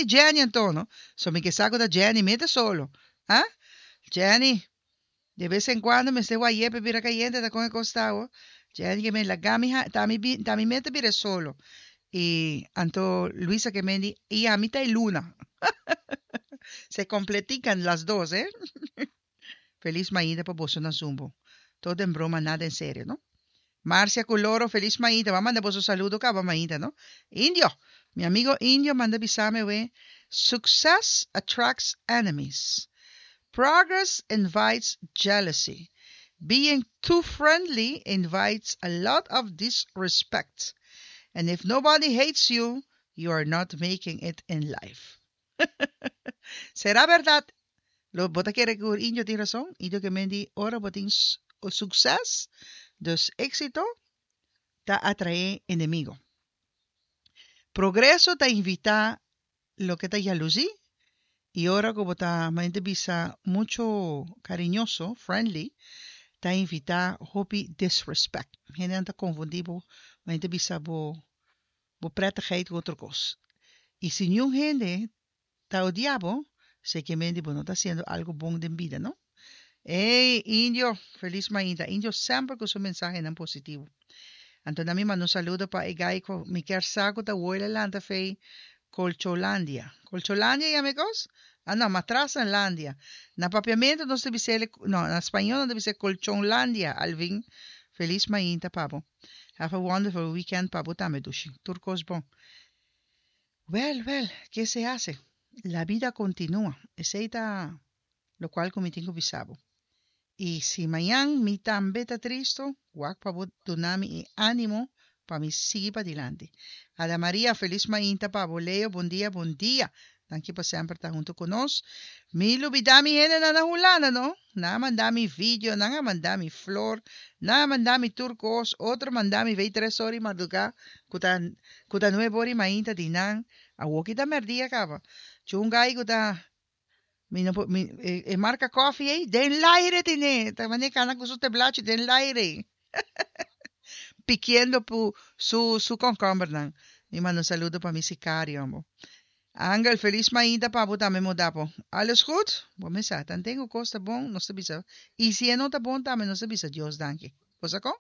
di Jenny anto, no? So mi ke sa ku ta Jenny mete solo. Ah? Jenny, de bes en kuando mester wayé pa bira kayente ta kon e kos ta awo. Jenny ke men laga mi ha ta mi bi ta mi mete bira e solo. I anto Luisa ke men di i ami ta e luna. Se completican las dos, eh? Felis mainta pa boso na Zumbo. Todo en broma nada en serio, no? Marcia cu Loro felis mainta. Bo a manda boso saludo caba mainta, no? Indio! Mi amigo Indio manda bisame we, Success attracts enemies. Progress invites jealousy. Being too friendly invites a lot of disrespect. And if nobody hates you, you are not making it in life. Será berdad? Lo bo ta kere ku Indio tin rason? Indio ke men di ora bo tin sukses, dus éksito, ta atraé enemigo. Progreso ta invitá loke ta yalusí i ora ku bo ta manera ta bisa muchu kariñoso, friendly, ta invitá hopi disrespect. Hendenan ta konfundí bo, manera ta bisa bo bo prettigheid ku otro kos. I si niun hende ta odia bo, sekemente bo no ta hasiendo algo bon den bida, no? Ey, Indio, felis mainta. Indio semper ku su mensahenan positivo. Anto na mi manda un saludo pa e guy ku mi kier sa ku ta woi la lanta fei Colcholandia. Colcholandia yama e kos? Ah no, Matrasenlandia. Na papiamento nos ta bis'el, no, na spañol nos ta bis'el Colchonlandia, Alvin. Felis mainta pa bo. Have a wonderful weekend pa bo tambe, dushi. Tur kos bon. Wel, wel, ke se hase? La bida kontinua. Esei ta lokual ku mi tin ku bisa bo. I si mañan mi tambe ta tristu, wak pa bo duna mi e ánimo pa mi sigui padilanti. Ada Maria, felis mainta pa bo. Leo, bon dia, bon dia. Danki pa semper ta huntu ku nos. Mi lubidá mi hendenan na Hulanda, no? Nan a manda mi video, nan a manda mi flor, nan a manda mi tur kos, otro manda mi vei tres ora i mardugá, ku ta ku ta nuebe ora i mainta di nan. Awoki ta mèrdia kaba. Chunga ai ku ta mi no por mi e e marka kòfi ei den laire tene, ta manera kana ku su teblachi den laire pikiendo pu su su kònkòmbernan. Mi manda un saludo pa mi sikario ambo. Angel, felis mainta pa bo tambe modapo. Alles goed? Bo mesa, tanten ku kos ta bon, nos ta bisa, i si e no ta bon tambe nos ta bisa Dios danki. Bo sa kon?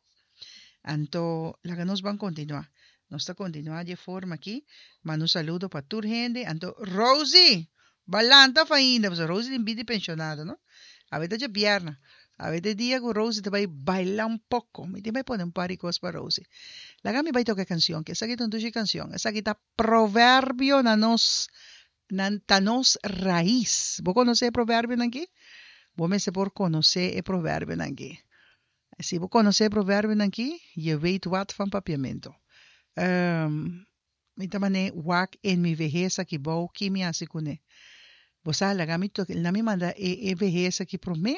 Anto, laga nos ban kontinuá. Nos ta kontinuá di e forma akí. Manda un saludo pa tur hende. Anto, Rosie! Bo a lanta òf ainda? Pasobra Rosie tin bida di penshonado, no? Awe ta djabièrnè. Awe ta e dia ku Rosie ta bai baila un poko. Mi tin bai pone un par di kos pa Rosie. Laga mi bai toka e kanshon, ke esaki ta un dushi kanshon. Esaki ta Proverbio na nos nan ta nos rais. Bo konosé e proverbionan aki? Bo mester por konosé e proverbionan aki. Si bo konosé e proverbionan aki, je weet wat van papiamento. Um, mi ta man'é wak en mi vehes aki bou, ki mi hasi kuné? Bo sa, laga mi toke, na mi manda e e vehes aki promé,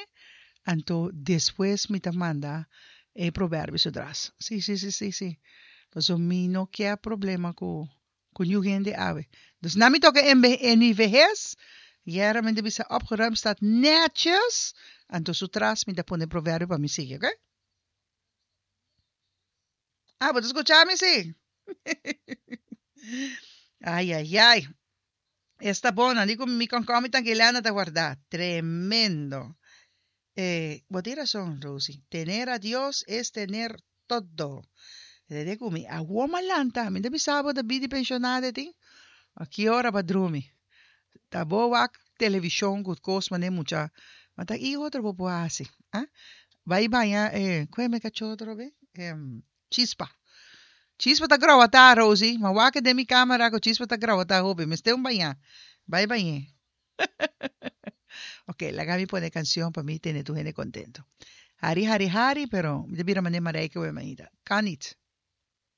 anto despues mi ta manda e proverbio su tras. Sí, sí, sí, sí, sí. Pasobra mi no kier problema ku ku niun hende awe. Dus na mi toka en en mi vehes, yera mi ta bisa opgeruimd staat netjes, anto su tras mi ta pone proverbio pa mi sigui, oké? Ah, bo ta skucha mi si? Ai, ai, ai. Esta bon, nan di ku mi kònkòmi tankilèna ta wardá. Tremendo. Eh, bo tin rason, Rosie. Tener a Dios es tener todo. Rede ku mi, awor m'a lanta, mi ta bisa bo ta bidi penshonado e tin. A ki ora bo a drumi? Ta bo wak televishon ku kos manera mucha. Ma ta i otro bo por hasi, ah? Bai baña e, ku e me kachó otro be? Chispa. Chispa ta growatá, Rosie. Ma wak den mi kamera ku Chispa ta growatá hopi. Mester un bañá. Bai bañ'é. Ok, laga mi pone kanshon pa mi tene tur hende kontentu. Hari, hari, hari, pero mi ta bira manera Marijke wei mainta. Kan nit.